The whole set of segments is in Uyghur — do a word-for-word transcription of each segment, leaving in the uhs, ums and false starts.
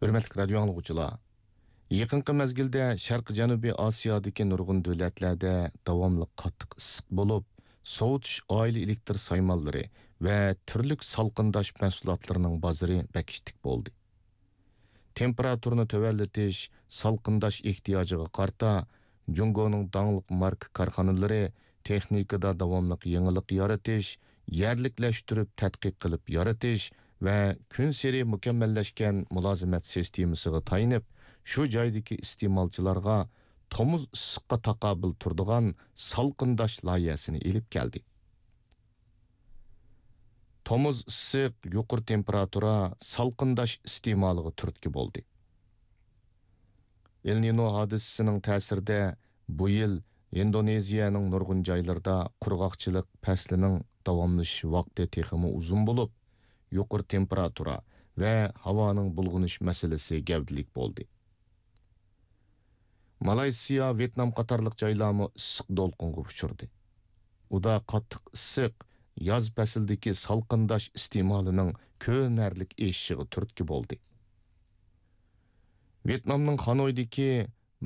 ھۆرمەتلىك رادىيو ئاڭلىغۇچىلار، يېقىنقى مەزگىلدە شەرقىي جەنۇبىي ئاسىيادىكى نۇرغۇن دۆلەتلەردە داۋاملىق قاتتىق ئىسسىق بولۇپ، سوۋۇتۇش ئائىلە ئېلېكتر سايمانلىرى ۋە تۈرلۈك سالقىنداش مەھسۇلاتلىرىنىڭ بازىرى بەك ئىتتىك بولدى. تېمپېراتۇرىنى تۆۋەنلىتىش، سالقىنداش ئېھتىياجىغا قارىتا، جۇڭگونىڭ داڭلىق ماركا كارخانىلىرى تېخنىكىدا داۋاملىق يېڭىلىق يارىتىش، يەرلىكلەشتۈرۈپ تەتقىق قىلىپ يارىتىش ۋە كۈنسېرى مۇكەممەللەشكەن مۇلازىمەت سىستېمىسىغا تايىنىپ، شۇ جايدىكى ئىستېمالچىلارغا تومۇز ئىسسىققا تاقابىل تۇرىدىغان سالقىنداش لايىھەسىنى ئېلىپ كەلدى. تومۇز ئىسسىق، يۇقىرى تېمپېراتۇرا، سالقىنداش ئىستېمالىغا تۈرتكە بولدى. ئېل نىنو ھادىسىسىنىڭ تەسىرىدە بۇ يىل ئىندونېزىيەنىڭ نۇرغۇن جايلىرىدا قۇرغاقچىلىق پەسلىنىڭ داۋاملىشىش ۋاقتى تېخىمۇ ئۇزۇن بولۇپ، يۇقىرى تېمپېراتۇرا ۋە ھاۋانىڭ بۇلغىنىش مەسىلىسى گەۋدىلىك بولدى. مالايسىيا، ۋيېتنام قاتارلىق جايلارمۇ ئىسسىق دولقۇنغا ئۇچرىدى. ئۇدا قاتتىق ئىسسىق ياز پەسلىدىكى سالقىنداش ئىستېمالىنىڭ كۆرۈنەرلىك ئېشىشىغا تۈرتكە بولدى. ۋيېتنامنىڭ خانويدىكى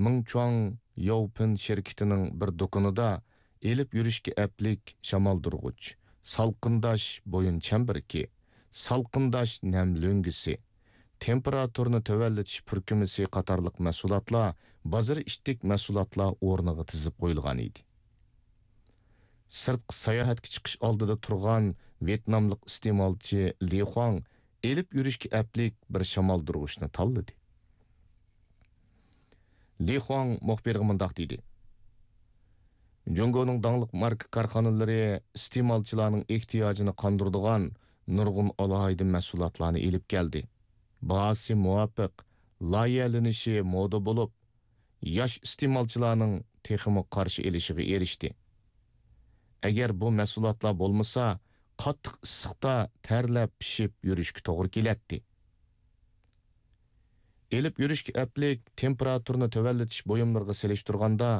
مىڭچۇاڭ ياۋپىن شىركىتىنىڭ بىر دۇكىنىدا ئېلىپ يۈرۈشكە ئەپلىك شامالدۇرغۇچ، سالقىنداش بويۇن چەمبىرىكى، سالقىنداش نەم لۆڭگىسى، تېمپېراتۇرىنى تۆۋەنلىتىش پۈركۈمىسى قاتارلىق مەھسۇلاتلار بازىرى ئىتتىك مەھسۇلاتلار ئورنىغا تىزىپ قويۇلغان ئىدى. سىرتقا ساياھەتكە چىقىش ئالدىدا تۇرغان ۋيېتناملىق ئىستېمالچى لى خۇاڭ ئېلىپ يۈرۈشكە ئەپلىك بىر شامالدۇرغۇچنى تاللىدى. لى خۇاڭ مۇخبىرغا مۇنداق دېدى: جۇڭگونىڭ داڭلىق ماركا كارخانىلىرى ئىستېمالچىلارنىڭ ئېھتىياجىنى قاندۇرىدىغان نۇرغۇن ئالاھىدە مەھسۇلاتلارنى ئېلىپ كەلدى. باھاسى مۇۋاپىق، لايىھەلىنىشى مودا بولۇپ، ياش ئىستېمالچىلارنىڭ تېخىمۇ قارشى ئېلىشىغا ئېرىشتى. ئەگەر بۇ مەھسۇلاتلار بولمىسا، قاتتىق ئىسسىقتا تەرلەپ پىشىپ يۈرۈشكە توغرا كېلەتتى. ئېلىپ يۈرۈشكە ئەپلىك تېمپېراتۇرىنى تۆۋەنلىتىش بۇيۇملىرىغا سېلىشتۇرغاندا،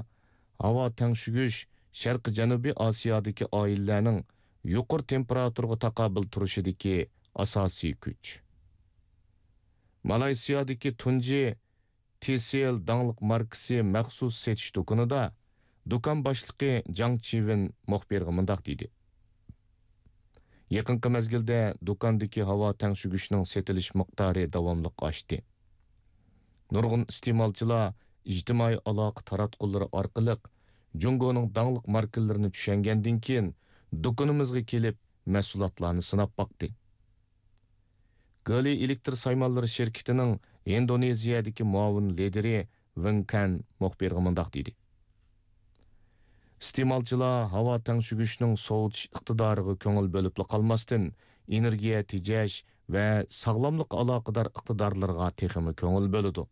ھاۋا تەڭشىگۈچ شەرقىي جەنۇبىي ئاسىيادىكى ئائىلىلەرنىڭ يۇقىرى تېمپېراتۇرىغا تاقابىل تۇرۇشىدىكى ئاساسىي كۈچ. مالايسىيادىكى تۇنجى تىسېل داڭلىق ماركىسى مەخسۇس سېتىش دۇكىنىدا دۇكان باشلىقى جاڭ چىۋېن مۇخبىرغا مۇنداق دېدى: يېقىنقى مەزگىلدە دۇكاندىكى ھاۋا تەڭشىگۈچنىڭ سېتىلىش مىقدارى داۋاملىق ئاشتى. نۇرغۇن ئىستېمالچىلار ئىجتىمائىي ئالاقە تاراتقۇلىرى ئارقىلىق جۇڭگونىڭ داڭلىق ماركىلىرىنى چۈشەنگەندىن كېيىن، دۇكىنىمىزغا كېلىپ مەھسۇلاتلارنى سىناپ باقتى. گېلى ئېلېكتر سايمانلىرى شىركىتىنىڭ ئىندونېزىيەدىكى مۇئاۋىن لىدىرى ۋېڭ كەن مۇخبىرغا مۇنداق دېدى: ئىستېمالچىلار ھاۋا تەڭشىگۈچنىڭ سوۋۇتۇش ئىقتىدارىغا كۆڭۈل بۆلۈپلا قالماستىن، ئېنېرگىيە تېجەش ۋە ساغلاملىققا ئالاقىدار ئىقتىدارلىرىغا تېخىمۇ كۆڭۈل بۆلىدۇ.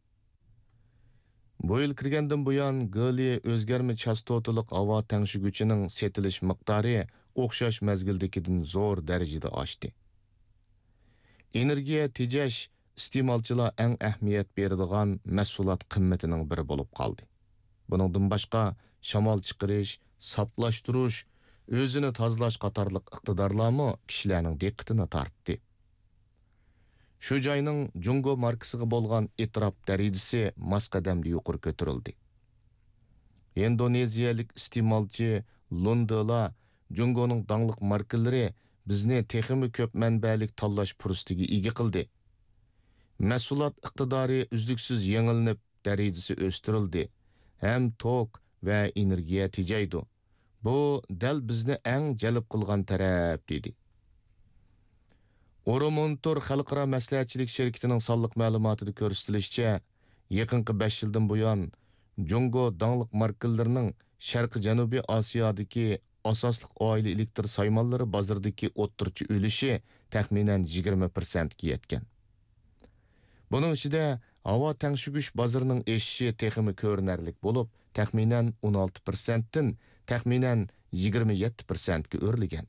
بۇ يىل كىرگەندىن بۇيان، گېلى ئۆزگەرمە چاستوتىلىق ھاۋا تەڭشىگۈچىنىڭ سېتىلىش مىقدارى ئوخشاش مەزگىلدىكىدىن زور دەرىجىدە ئاشتى. ئېنېرگىيە تېجەش ئىستېمالچىلار ئەڭ ئەھمىيەت بېرىدىغان مەھسۇلات قىممىتىنىڭ بىرى بولۇپ قالدى. بۇنىڭدىن باشقا، شامال چىقىرىش، ساپلاشتۇرۇش، ئۆزىنى تازىلاش قاتارلىق ئىقتىدارلارمۇ كىشىلەرنىڭ دىققىتىنى تارتتى. شۇ جاينىڭ جۇڭگو ماركىسىغا بولغان ئېتىراپ دەرىجىسى ماس قەدەمدە يۇقىرى كۆتۈرۈلدى. ئىندونېزىيەلىك ئىستېمالچى لۇندېلا جۇڭگونىڭ داڭلىق ماركىلىرى بىزنى تېخىمۇ كۆپ مەنبەلىك تاللاش پۇرسىتىگە ئىگە قىلدى. مەھسۇلات ئىقتىدارى ئۈزلۈكسىز يېڭىلىنىپ، دەرىجىسى ئۆستۈرۈلدى ھەم توك ۋە ئېنېرگىيە تېجەيدۇ. بۇ دەل بىزنى ئەڭ جەلپ قىلغان تەرەپ، دېدى. ئورو مونتور خەلقئارا مەسلىھەتچىلىك شىركىتىنىڭ سانلىق مەلۇماتىدا كۆرسىتىلىشىچە، يېقىنقى بەش يىلدىن بۇيان، جۇڭگو داڭلىق ماركىلىرىنىڭ شەرقىي جەنۇبىي ئاسىيادىكى ئاساسلىق ئائىلە ئېلېكتر سايمانلىرى بازىرىدىكى ئوتتۇرىچە ئۈلۈشى تەخمىنەن يىگىرمە پىرسەنتكە يەتكەن. بۇنىڭ ئىچىدە ھاۋا تەڭشىگۈچ بازىرىنىڭ ئېشىشى تېخىمۇ كۆرۈنەرلىك بولۇپ، تەخمىنەن ئون ئالتە پىرسەنتتىن تەخمىنەن يىگىرمە يەتتە پىرسەنتكە ئۆرلىگەن.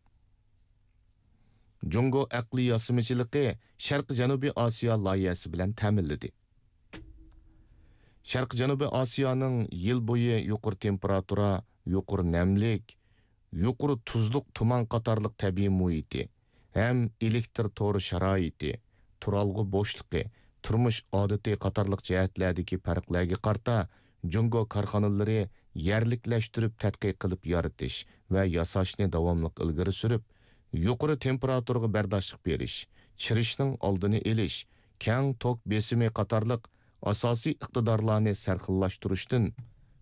جۇڭگو ئەقلىي ياسىمىچىلىقى شەرقىي جەنۇبىي ئاسىيا لايىھەسى بىلەن تەمىنلىدى. شەرقىي جەنۇبىي ئاسىيانىڭ يىل بويى يۇقىرى تېمپېراتۇرا، يۇقىرى نەملىك، يۇقىرى تۇزلۇق تۇمان قاتارلىق تەبىئىي مۇھىتى ھەم ئېلېكتر تورى شارائىتى، تۇرالغۇ بوشلۇقى، تۇرمۇش ئادىتى قاتارلىق جەھەتلەردىكى پەرقلەرگە قارىتا، جۇڭگو كارخانىلىرى يەرلىكلەشتۈرۈپ تەتقىق قىلىپ يارىتىش ۋە ياساشنى داۋاملىق ئىلگىرى سۈرۈپ، يۇقىرى تېمپېراتۇرىغا بەرداشلىق بېرىش، چىرىشنىڭ ئالدىنى ئېلىش، كەڭ توك بېسىمى قاتارلىق ئاساسىي ئىقتىدارلارنى سەرخىللاشتۇرۇشتىن،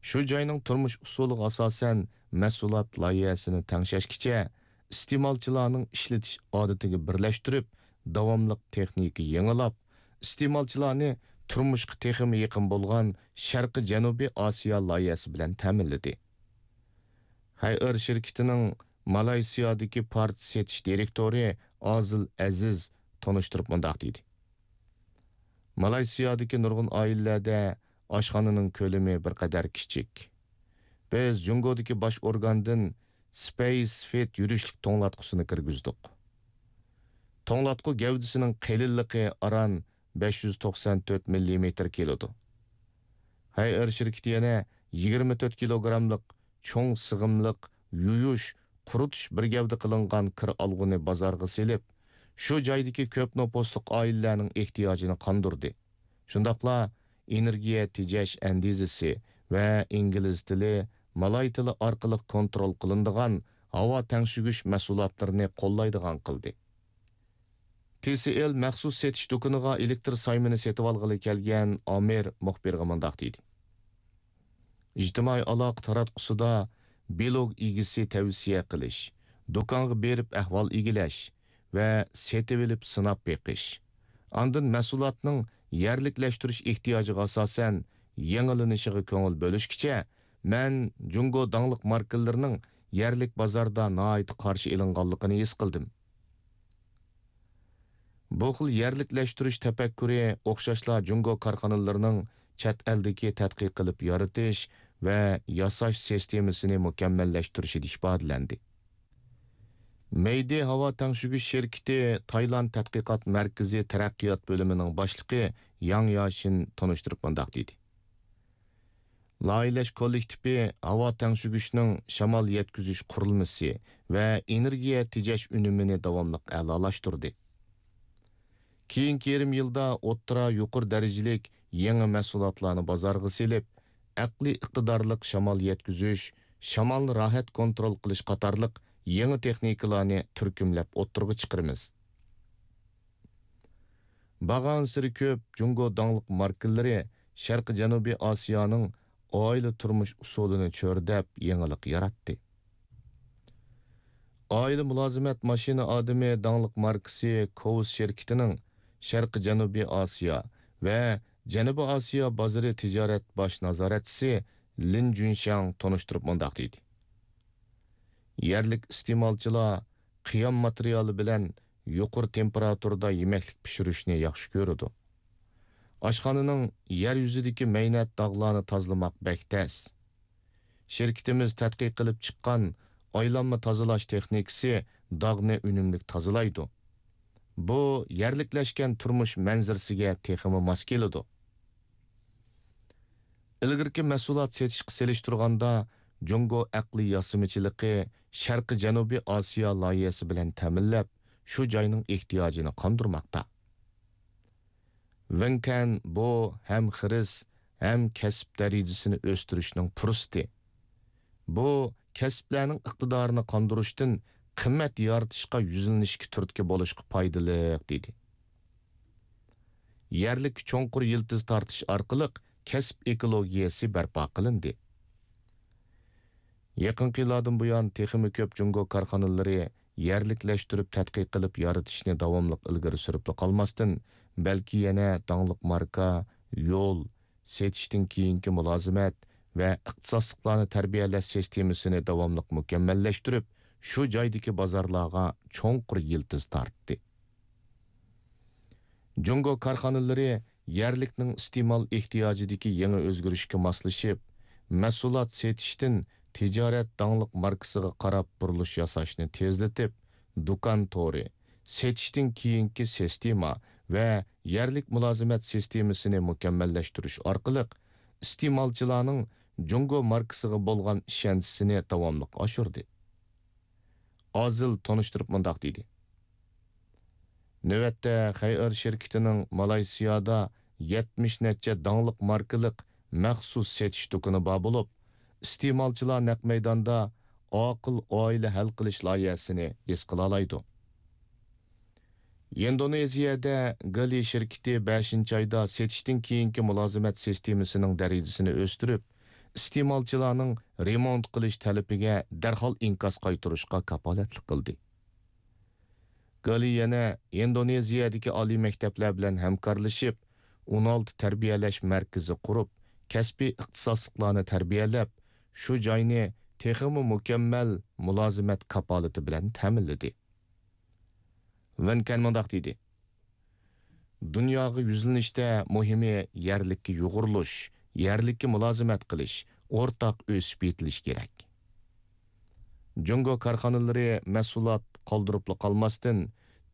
شۇ جاينىڭ تۇرمۇش ئۇسۇلىغا ئاساسەن مەھسۇلات لايىھەسىنى تەڭشەشكىچە، ئىستېمالچىلارنىڭ ئىشلىتىش ئادىتىگە بىرلەشتۈرۈپ، داۋاملىق تېخنىكا يېڭىلاپ، ئىستېمالچىلارنى تۇرمۇشقا تېخىمۇ يېقىن بولغان شەرقىي جەنۇبىي ئاسىيا لايىھەسى بىلەن تەمىنلىدى. خەيئېر شىركىتىنىڭ مالايسىيادىكى پارچە سېتىش دىرېكتورى ئازىل ئەزىز تونۇشتۇرۇپ مۇنداق دېدى: مالايسىيادىكى نۇرغۇن ئائىلىلەردە ئاشخانىنىڭ كۆلىمى بىر قەدەر كىچىك. بىز جۇڭگودىكى باش ئورگاندىن سپەيس فىت يۈرۈشلۈك توڭلاتقۇسىنى كىرگۈزدۇق. توڭلاتقۇ گەۋدىسىنىڭ قېلىنلىقى ئاران بەش يۈز توقسان تۆت مىللىمېتىر كېلىدۇ. خەيئېر شىركىتى يەنە يىگىرمە تۆت كىلوگراملىق چوڭ سىغىملىق يۇيۇش، قۇرۇتۇش بىر گەۋدە قىلىنغان كىر ئالغۇنى بازارغا سېلىپ، شۇ جايدىكى كۆپ نوپۇسلۇق ئائىلىلەرنىڭ ئېھتىياجىنى قاندۇردى. شۇنداقلا ئېنېرگىيە تېجەش ئەندىزىسى ۋە ئىنگلىز تىلى، مالاي تىلى ئارقىلىق كونترول قىلىنىدىغان ھاۋا تەڭشىگۈچ مەھسۇلاتلىرىنى قوللايدىغان قىلدى. تى سى ئېل مەخسۇس سېتىش دۇكىنىغا ئېلېكتىر سايمىنى سېتىۋالغىلى كەلگەن ئامىر مۇخبىرغا مۇنداق دېدى: ئىجتىمائىي ئالاقە تاراتقۇسىدا بىلوگ ئىگىسى تەۋسىيە قىلىش، دۇكانغا بېرىپ ئەھۋال ئىگىلەش ۋە سېتىۋېلىپ سىناپ بېقىش، ئاندىن مەھسۇلاتنىڭ يەرلىكلەشتۈرۈش ئېھتىياجىغا ئاساسەن يېڭىلىنىشىغا كۆڭۈل بۆلۈشكىچە، مەن جۇڭگو داڭلىق ماركىلىرىنىڭ يەرلىك بازاردا ناھايىتى قارشى ئېلىنغانلىقىنى ھېس قىلدىم. بۇ خىل يەرلىكلەشتۈرۈش تەپەككۇرى ئوخشاشلا جۇڭگو كارخانىلىرىنىڭ چەت ئەلدىكى تەتقىق قىلىپ يارىتىش ۋە ياساش سىستېمىسىنى مۇكەممەللەشتۈرۈشىدە ئىپادىلەندى. مەيدى ھاۋا تەڭشىگۈچ شىركىتى تايلاند تەتقىقات مەركىزى تەرەققىيات بۆلۈمىنىڭ باشلىقى ياڭ ياشىن تونۇشتۇرۇپ مۇنداق دېدى: لايىھەلەش كوللېكتىپى ھاۋا تەڭشىگۈچنىڭ شامال يەتكۈزۈش قۇرۇلمىسى ۋە ئېنېرگىيە تېجەش ئۈنۈمىنى داۋاملىق ئەلالاشتۇردى. كېيىنكى يېرىم يىلدا ئوتتۇرا يۇقىرى دەرىجىلىك يېڭى مەھسۇلاتلارنى بازارغا سېلىپ، ئەقلىي ئىقتىدارلىق شامال يەتكۈزۈش، شامالنى راھەت كونترول قىلىش قاتارلىق يېڭى تېخنىكىلارنى تۈركۈملەپ ئوتتۇرىغا چىقىرىمىز. بارغانسېرى كۆپ جۇڭگو داڭلىق ماركىلىرى شەرقىي جەنۇبىي ئاسىيانىڭ ئائىلە تۇرمۇش ئۇسۇلىنى چۆرىدەپ يېڭىلىق ياراتتى. ئائىلە مۇلازىمەت ماشىنا ئادىمى داڭلىق ماركىسى كوۋس شىركىتىنىڭ شەرقىي جەنۇبىي ئاسىيا ۋە جەنۇبىي ئاسىيا بازىرى تىجارەت باش نازارەتچىسى لىن جۈنشياڭ تونۇشتۇرۇپ مۇنداق دېدى: يەرلىك ئىستېمالچىلار قىيام ماتېرىيالى بىلەن يۇقىرى تېمپېراتۇرىدا يېمەكلىك پىشۇرۇشنى ياخشى كۆرىدۇ. ئاشخانىنىڭ يەر يۈزىدىكى مەينەت داغلارنى تازىلىماق بەك تەس. شىركىتىمىز تەتقىق قىلىپ چىققان ئايلانما تازىلاش تېخنىكىسى داغنى ئۈنۈملۈك تازىلايدۇ. بۇ يەرلىكلەشكەن تۇرمۇش مەنزىرىسىگە تېخىمۇ ماس كېلىدۇ. ئىلگىرىكى مەھسۇلات سېتىشقا سېلىشتۇرغاندا، جۇڭگو ئەقلىي ياسىمىچىلىقى شەرقىي جەنۇبىي ئاسىيا لايىھەسى بىلەن تەمىنلەپ، شۇ جاينىڭ ئېھتىياجىنى قاندۇرماقتا. ۋېنكەن بۇ ھەم خىرىس، ھەم كەسىپ دەرىجىسىنى ئۆستۈرۈشنىڭ پۇرسىتى. بۇ كەسىپلەرنىڭ ئىقتىدارىنى قاندۇرۇشتىن قىممەت يارىتىشقا يۈزلىنىشكە تۈرتكە بولۇشقا پايدىلىق، دېدى. يەرلىك چوڭقۇر يىلتىز تارتىش ئارقىلىق كەسىپ ئېكولوگىيەسى بەرپا قىلىندى. يېقىنقى يىللاردىن بۇيان، تېخىمۇ كۆپ جۇڭگو كارخانىلىرى يەرلىكلەشتۈرۈپ تەتقىق قىلىپ يارىتىشنى داۋاملىق ئىلگىرى سۈرۈپلا قالماستىن، بەلكى يەنە داڭلىق ماركا، يول، سېتىشتىن كېيىنكى مۇلازىمەت ۋە ئىختىساسلىقلارنى تەربىيەلەش سىستېمىسىنى داۋاملىق مۇكەممەللەشتۈرۈپ، شۇ جايدىكى بازارلارغا چوڭقۇر يىلتىز تارتتى. جۇڭگو كارخانىلىرى يەرلىكنىڭ ئىستېمال ئېھتىياجىدىكى يېڭى ئۆزگىرىشكە ماسلىشىپ، مەھسۇلات سېتىشتىن تىجارەت داڭلىق ماركىسىغا قاراپ بۇرۇلۇش ياساشنى تېزلىتىپ، دۇكان تورى، سېتىشتىن كېيىنكى سىستېما ۋە يەرلىك مۇلازىمەت سىستېمىسىنى مۇكەممەللەشتۈرۈش ئارقىلىق ئىستېمالچىلارنىڭ جۇڭگو ماركىسىغا بولغان ئىشەنچىسىنى داۋاملىق ئاشۇردى. ئازىل تونۇشتۇرۇپ مۇنداق دېدى: نۆۋەتتە خەيئەر شىركىتىنىڭ مالايسىيادا يەتمىش نەچچە داڭلىق ماركىلىق مەخسۇس سېتىش دۇكىنى بار بولۇپ، ئىستېمالچىلار نەق مەيداندا ئاقىل ئائىلە ھەل قىلىش لايىھەسىنى ھېس قىلالايدۇ. ئىندونېزىيەدە گېلى شىركىتى بەشىنچى ئايدا سېتىشتىن كېيىنكى مۇلازىمەت سىستېمىسىنىڭ دەرىجىسىنى ئۆستۈرۈپ، ئىستېمالچىلارنىڭ رېمونت قىلىش تەلىپىگە دەرھال ئىنكاس قايتۇرۇشقا كاپالەتلىك قىلدى. گېلى يەنە ئىندونېزىيەدىكى ئالىي مەكتەپلەر بىلەن ھەمكارلىشىپ، ئون ئالتە تەربىيەلەش مەركىزى قۇرۇپ، كەسپىي ئىختىساسلىقلارنى تەربىيەلەپ، شۇ جاينى تېخىمۇ مۇكەممەل مۇلازىمەت كاپالىتى بىلەن تەمىنلىدى. ۋېن كەن مۇنداق دېدى: دۇنياغا يۈزلىنىشتە مۇھىمى يەرلىككە يۇغۇرۇلۇش، يەرلىككە مۇلازىمەت قىلىش، ئورتاق ئۆسۈپ يېتىلىش كېرەك. جۇڭگو كارخانىلىرى مەھسۇلات قالدۇرۇپلا قالماستىن،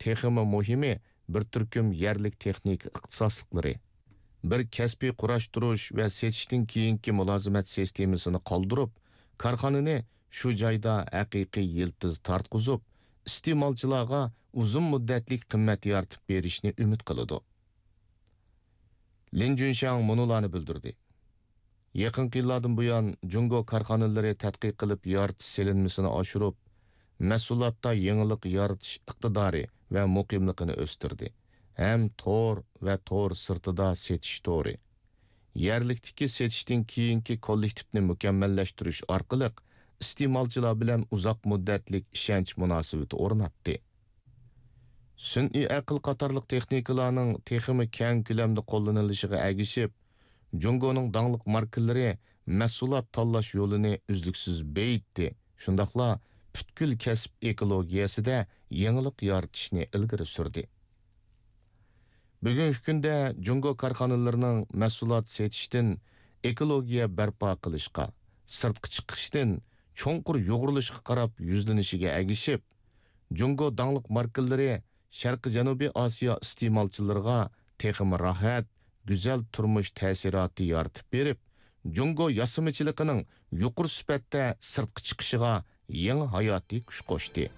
تېخىمۇ مۇھىمى بىر تۈركۈم يەرلىك تېخنىكا ئىختىساسلىقلىرى، بىر كەسپىي قۇراشتۇرۇش ۋە سېتىشتىن كېيىنكى مۇلازىمەت سىستېمىسىنى قالدۇرۇپ، كارخانىنى شۇ جايدا ھەقىقىي يىلتىز تارتقۇزۇپ، ئىستېمالچىلارغا ئۇزۇن مۇددەتلىك قىممەت يارىتىپ بېرىشنى ئۈمىد قىلىدۇ. لىن جۈنشياڭ مۇنۇلارنى بىلدۈردى: يېقىنقى يىللاردىن بۇيان، جۇڭگو كارخانىلىرى تەتقىق قىلىپ يارىتىش سېلىنمىسىنى ئاشۇرۇپ، مەھسۇلاتتا يېڭىلىق يارىتىش ئىقتىدارى ۋە مۇقىملىقىنى ئۆستۈردى ھەم تور ۋە تور سىرتىدا سېتىش تورى، يەرلىكتىكى سېتىشتىن كېيىنكى كوللېكتىپنى مۇكەممەللەشتۈرۈش ئارقىلىق ئىستېمالچىلار بىلەن ئۇزاق مۇددەتلىك ئىشەنچ مۇناسىۋىتى ئورناتتى. سۈنئىي ئەقىل قاتارلىق تېخنىكىلارنىڭ تېخىمۇ كەڭ كۆلەمدە قوللىنىلىشىغا ئەگىشىپ، جۇڭگونىڭ داڭلىق ماركىلىرى مەھسۇلات تاللاش يولىنى ئۈزلۈكسىز بېيىتتى، شۇنداقلا پۈتكۈل كەسىپ ئېكولوگىيەسىدە يېڭىلىق يارىتىشنى ئىلگىرى سۈردى. بۈگۈنكى كۈندە جۇڭگو كارخانىلىرىنىڭ مەھسۇلات سېتىشتىن ئېكولوگىيە بەرپا قىلىشقا، سىرتقا چىقىشتىن چوڭقۇر يۇغۇرۇلۇشقا قاراپ يۈزلىنىشىگە ئەگىشىپ، جۇڭگو داڭلىق ماركىلىرى شەرقىي جەنۇبىي ئاسىيا ئىستېمالچىلىرىغا تېخىمۇ راھەت، گۈزەل تۇرمۇش تەسىراتى يارىتىپ بېرىپ، جۇڭگو ياسىمىچىلىقىنىڭ يۇقىرى سۈپەتتە سىرتقا چىقىشىغا يېڭى ھاياتىي كۈچ قوشتى.